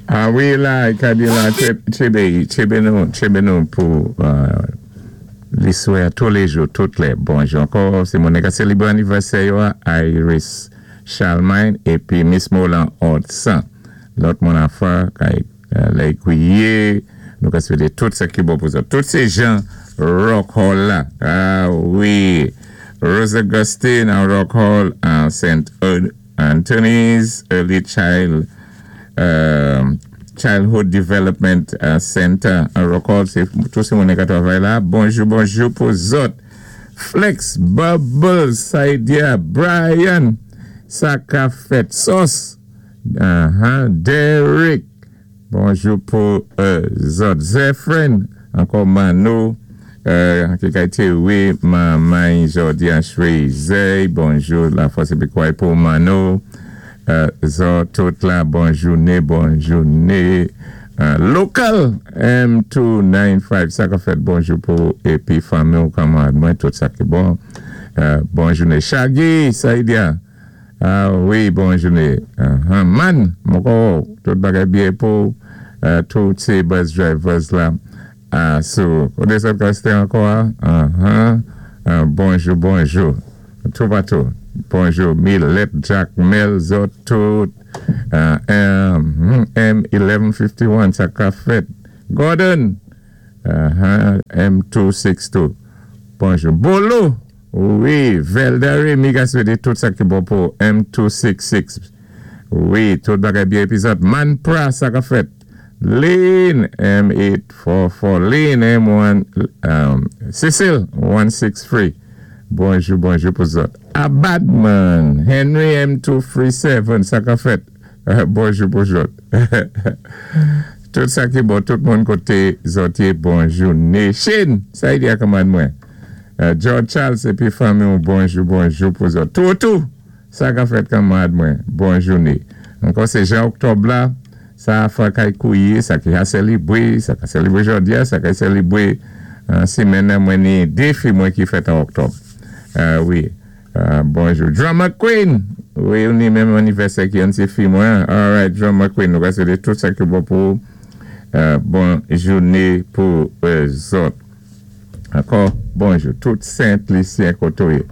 A wi la, i ka di la, tjébé, tjébé nou, tjébé nou pou liswè touléjou, tout lè. Bonjou ankò, sé moun ka sélibré anivèsè yo a, Iris Charlemagne épi Miss Molan Ortsan. Lòt moun afa, kay lè kwiye, nou ka swété tout sa ki bon pou zòt. Tout sé jan Rock Hall la. A wi, Rose Augustine an Rock Hall, an St. Anthony's Early Childhood Development Center an Rock Hall, sé tout sé moun ka twavay la. Bonjou, bonjou pou zòt. Flex, Bubbles, Saidia, Brian, sa ka fèt Sauce, Derrick, bonjou pou zòt. Zephrine, ankò Mano, ki kay Terry, Mamay, Jordi Ashwezey, bonjou la fòs épi kouray pou Mano. Zòt tout la, bon jouné, bon jouné. Local M295, sa ka fèt, bonjou pou épi fanmi ou kanmarad mwen, tout sa ki bon. Bon jouné. Shaggy, Saidia, a wi, bon jouné. Man, mwen kwè tout bagay byen pou tout sé bus drivers la. A sou koté sot kòste ankò a uh-huh bonjou bonjou toupatou bonjou Milèt Jakmèl zòt tout M 1151 sa ka fèt Gordon uh-huh M 262 bonjou Bolo wi Velda Remy ka swete tout sa ki bon pou M 266 wi tout bagay byen epi zòt Manpra sa ka fèt. Lynn M844 Lynn M1 Cecile 163 Bonjou bonjou pou zòt Abadman Henry M237 sa ka fèt bonjou pou zòt Tout sa ki bon tout moun koté zòt yé bonjou Nation sa y di a kanmarad mwen George Charles épi fanmi w bonjou bonjou pou zòt Toutou Sa ka fèt kanmarad mwen, bon jouné. Ankò sé jan oktòb la, sa a fwa kay kouye, sa ki ha sèlibre, sa ka sèlibre jòdi a, sa ka sèlibre simèn nan mwen ni 2 fi mwen ki fèt an oktòb. Wi. Bonjou. Drama Queen! Wi, ou ni menm anivèsè ki youn ti fi mwen. Alright, Drama Queen, nou ka swete tout sa ki bon pou ou. Bon jouné pou zòt. Ankò bonjou tout Sent Lisyen kote w ye.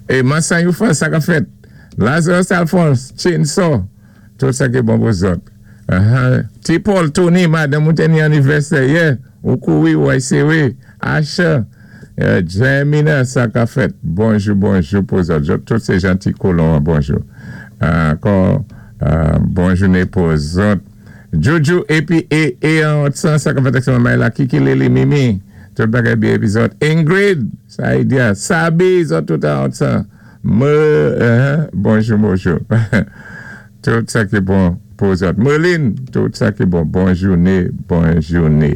E Mansan Youfan sa kap fèt? Lazarus Alphonse, Chainsaw, tout sa ki bon pou zòt. Ti Paul, Tony, madanm ou te ni anivèsè yè, ou kouri ou ay sere. Asher, Jemina sa kap fèt? Bonjou bonjou pou zòt. Zòt tout se janti kolon an bonjou. Ankò bon joune pou zòt. Jojo epi e e an otsan sa kap fèt ak manmay la kiki lili mimi tout bagay byen epi zòt Ingrid Saidia Sabi zòt tout an otsan me bonjou bonjou tout sa ki bon pou zòt Merline tout sa ki bon bon joune bon joune.